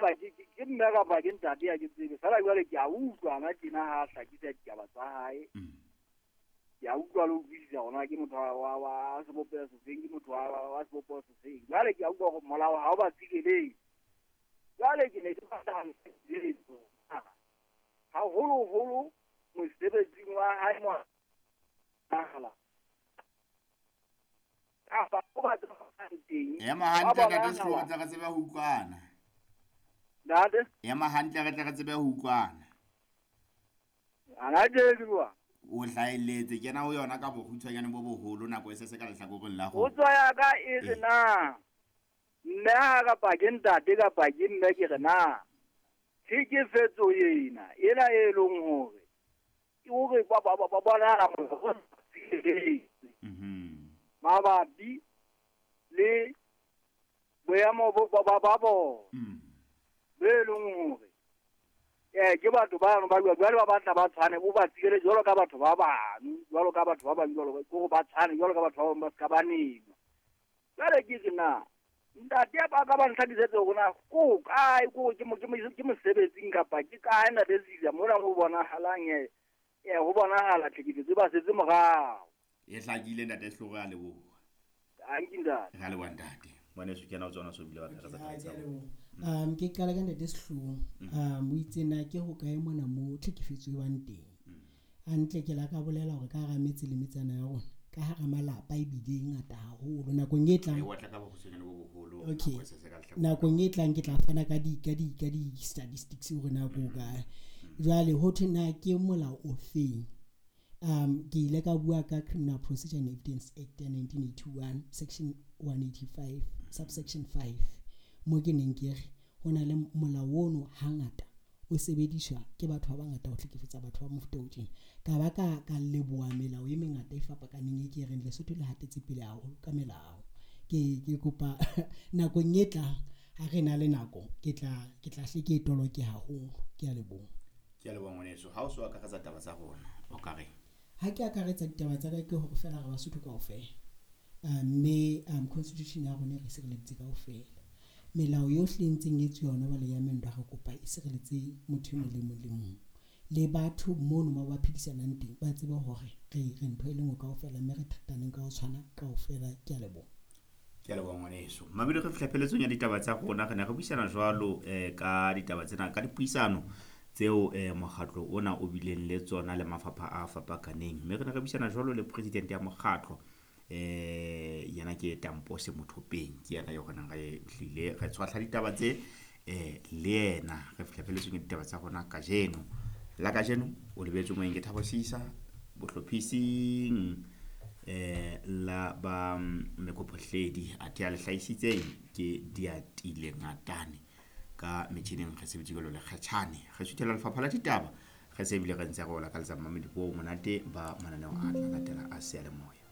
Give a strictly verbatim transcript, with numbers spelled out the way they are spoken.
haeba ke ke mme kapa ke ntate ya ke tsebe fela jwale ke a utlwa na tjena ha a hlakisa ditaba tsa hae. Ke a utlwa le utlwisisa hore ke motho wa wa sebopeho sefeng, ke motho wa wa sebopeho sefeng. Jwale ke a utlwa hore molao ha o ba tsireletse. Jwale ke ne ke batla ho haholoholo mosebetsing wa hae mo nahala. Kapa o batla teng. Ema hantle ntate Sehlooho, re tle re tsebe ho utlwana. Ntate? Ema hantle re tle re tsebe ho utlwana. Ana ke bua. O hlahelletse kena ho yona ka bokgutshwanyane bo boholo nako e se se ka lehlakoreng la Potso ya ka e re na mme ha kapa ke ntate kapa ke mme ke re na tlhekefetso ena ena e leng hore ke hore ba ba ba bonahala hore Mhm. mabapi le boemo bo ba ba bona Mm. be leng hore eh ke batho bano ba bua jwale ba batla ba tshwane o ba tsirele jwalo ka batho ba bang jwalo ka batho ba bang jwalo ke hore ba tshwane jwalo ka batho ba bang ba ska ba nenwa. Jwale ke re na ntate ba ka ba ntlhakisetse hore na ko kae ko ke mo ke mo ke mosebetsing kapa ke kae ntate Sisa mona ho bonahalang eh eh ho bonahala tlhekefetso ba setse morao. E hlakile ntate Sehlooho, a leboha. Anki ntate. Re a leboha ntate. Ngwaneso ke yena o tsona so bile wa Okay, akaretsa ha, taba ke tsa a rona. leboha. Um ke qala ka ntate Sehlooho. Um o itse na ke hokae mona mo tlhekefetso e bang teng. Hantle ke la ka bolela hore ka hara metse le metsana ya rona, ka hara malapa ebile e ngata haholo nakong e tlang. E otla ka bokgutshwanyane bo boholo Okay. nako e se se ka lehlakoreng. Nakong e tlang ke tla fana ka di ka di ka di statistics hore na ko kae. Jwale ho thwe na ke molao o feng? Um ke ile ka bua ka Criminal Procedure and Evidence Act ya nineteen eighty-one section one eighty-five subsection five mo ke neng ke re ho na le molao ono hangata o sebediswa ke batho ba bangata ho hlekefetsa batho ba mofuta o tjena. Ka ba ka ka leboha melao e mengata e fapakaneng e ke reng Lesotho le hatetse pele haholo ka melao. Ke ke kopa nakong e tlang ha re na le nako ke tla ke tla hle ke e toloke haholo. Ke a leboha. Ke a leboha ngwaneso. Ha o so akaretsa taba tsa rona o ka reng? Ha ke akaretsa ditaba tsa ka ke hore fela re Basotho kaofela. Mme um constitution ya rona e re sireleditse kaofela. Melao yohle e ntseng e etsuwa hona jwale ya mendo re kopa e sireletse motho e mong le mong le mong. Le batho mono mo ba phedisanang teng ba tsebe hore re re ntho e le nngwe kaofela mme re thataneng ka ho tshwana kaofela. Ke a leboha. Ke a leboha ngwaneso. Mamedi re fihla pheletsong ya ditaba tsa rona. Re ne re buisana jwalo eh ka ditaba tsena ka dipuisano tseo eh mokgatlo ona o bileng le tsona le mafapha a fapakaneng. Mme re ne re buisana jwalo le president ya mokgatlo eh yena ke Tampose Mothopeng, ke yena eo re neng re hlile re tshwahla ditaba tse eh le yena. Re fihla pheletsong ya ditaba tsa rona kajeno. La kajeno o lebetse moeng ke Thabo Sisa bohlophising eh la ba Mekophohledi athe a le hlahisitseng ke Diatile Ngatane ka metjhining re sebetse jwalo le Kgatjhane. Re suthela lefapha la ditaba re se ebile re ntse re o lakaletsa mamedi bo monate ba mananeo a tla latela a seyalemoya.